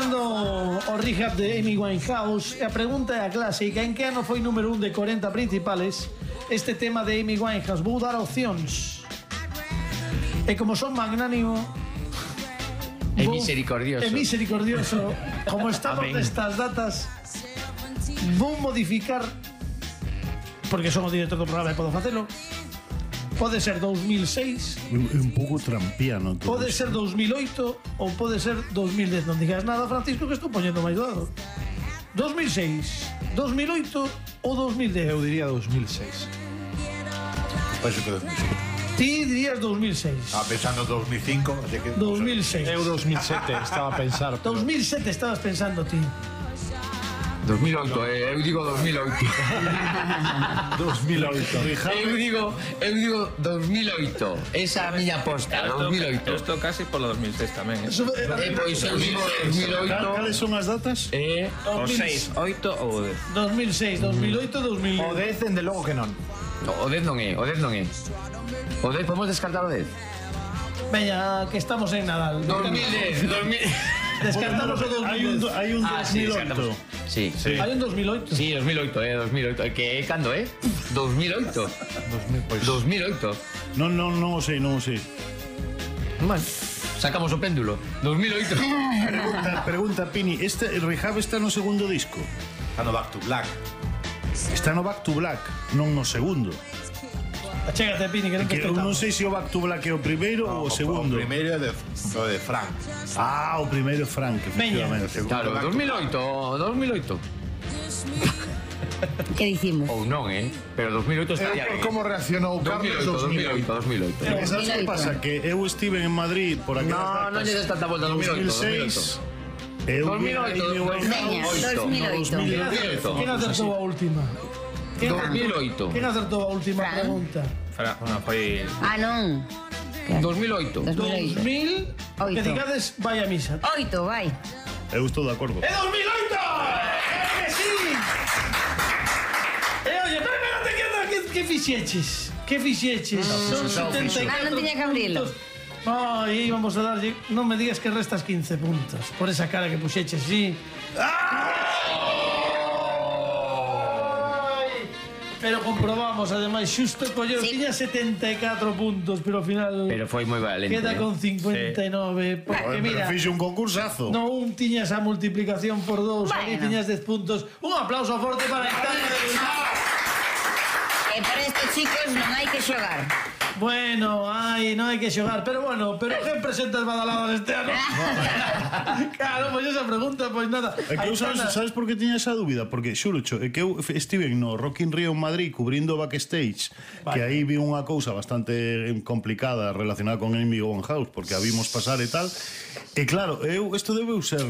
Escoitando o rehab de Amy Winehouse, a pregunta é a clásica: en que ano foi número 1 de 40 principales este tema de Amy Winehouse? Vou dar opcións. E como son magnánimo É misericordioso. Como estamos nestas datas, vou modificar, porque son o director do programa e podo facelo. Pode ser 2006, un pouco trampiano todo. pode ser 2008 ou pode ser 2010. Non digas nada, Francisco, que estou poñendo máis dado. 2006, 2008 ou 2010? Eu diría 2006. Pois que Ti dirías 2006. estaba pensando 2005, así que 2006. Eu 2007 estaba a pensar. 2007 estabas pensando ti. 2008, eu digo 2008. 2008. Eu digo 2008. Esa é a miña aposta, 2008. Eu estou casi polo 2006 tamén. Eso, Pois eu digo 2008. Cales son as datas? O 6, 8 ou 10. 2006, 2008, 2000. O 10, dende logo que non. O 10 non é. O 10, podemos descartar o 10? Veña, que estamos en Nadal. 2010. Descartamos o 2010. Hai un Sí, 2008. Sí. Hai un 2008. Sí, 2008, 2008. Que é cando, 2008. 2008. Non o sei. Bueno, sacamos o péndulo. 2008. Pregunta, Pini, este rehab está no segundo disco? Está no Back to Black. Está no Back to Black, non no segundo. Achégate, Pini, que non te Que eu non escoitamos. sei se o Back to Black é o primeiro ou o segundo. O primeiro é o de Frank. Ah, o primeiro é Frank, efectivamente. Claro, 2008. Que dicimos? Ou non, pero 2008 estaría Por ben. como reaccionou Carlos 2008. Sabes que pasa? Que eu estive en Madrid por aquelas No, non lle des tanta volta, 2006. 2008. Eu 2008. Veña, 2008. Quen acertou a última? 2008. Quen acertou a última Fran. pregunta? Foi... Ah, non. 2008. 2008. 2000, Oito. que digades vai a misa. 8, vai. Eu estou de acordo. ¡É 2008! ¡Que sí! Oye, pero espérate, que fixeches? Que fixeches? Son 74 Ah, non tiña que abrilo. puntos. No, e íbamos a darlle... Non me digas que restas 15 puntos por esa cara que puxeches, sí. Ai, pero comprobamos, ademais, xusto colleu, Sí. tiña 74 puntos, pero ao final Pero foi moi valente. queda con 59, porque mira, Fixe un concursazo. no un tiñas a multiplicación por 2, ali Bueno. tiñas 10 puntos. Un aplauso forte para Aitana de Bilbao. E por estes chicos non hai que xogar. Bueno, ai, non hai que xogar, pero bueno, pero quen presenta as badaladas este ano? Claro, pois esa pregunta, pois nada. É que eu sabes por que tiña esa dúbida? Porque xurocho, é que eu estive no Rock in Rio en Madrid cubrindo backstage, que aí vi unha cousa bastante complicada relacionada con Amy Winehouse, porque a vimos pasar e tal. E claro, isto debeu ser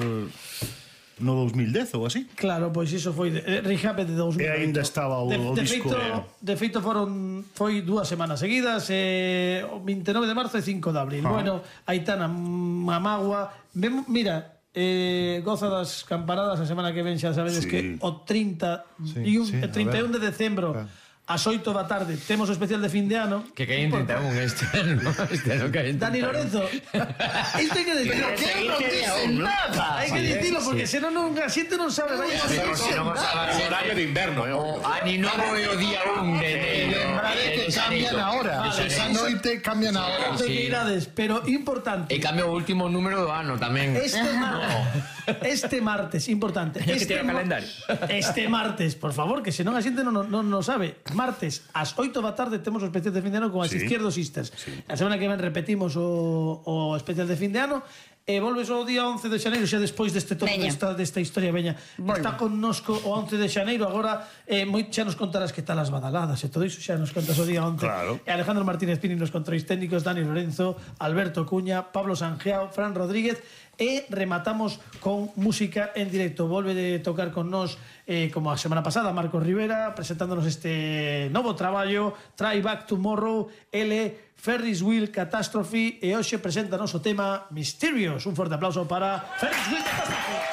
no 2010 ou así. Claro, pois iso foi Rehab de 2008. E aínda estaba o disco. De feito foi 2 semanas seguidas, o 29 de marzo e 5 de abril. Bueno, Aitana Mamagua, mira, goza das campanadas a semana que ven, xa sabedes que o 31 de decembro ás 8 da tarde temos o especial de fin de ano. Que caen 31 este ano caen 31. Dani Lorenzo, isto hai que decirlo. que non dicen Hai que dicilo porque senón a xente non sabe. Horario de inverno, O Ani Novo é o día 1 de que cambian ahora. Esa noite cambian ahora. Pero importante. E cambia o último número do ano tamén. Este martes, importante. que tirar calendario. Este martes, por favor, que senón a xente non sabe. Martes, ás 8 da tarde temos o especial de fin de ano con as Izquierdo Sisters. A semana que ven repetimos o especial de fin de ano e volves o día 11 de xaneiro, xa despois deste todo desta historia, veña. Está connosco o 11 de xaneiro, agora xa nos contarás que tal as badaladas e todo iso, xa nos contas o día 11. Claro. E Alejandro Martínez Pini nos controis técnicos, Dani Lorenzo, Alberto Cuña, Pablo Sanjeao, Fran Rodríguez, e rematamos con música en directo. Volve de tocar con nós como a semana pasada Marcos Rivera, presentándonos este novo traballo, Try Back Tomorrow, L, Ferris Wheel Catastrophe, e hoxe presenta o tema Mysterious. Un forte aplauso para Ferris Wheel Catastrophe.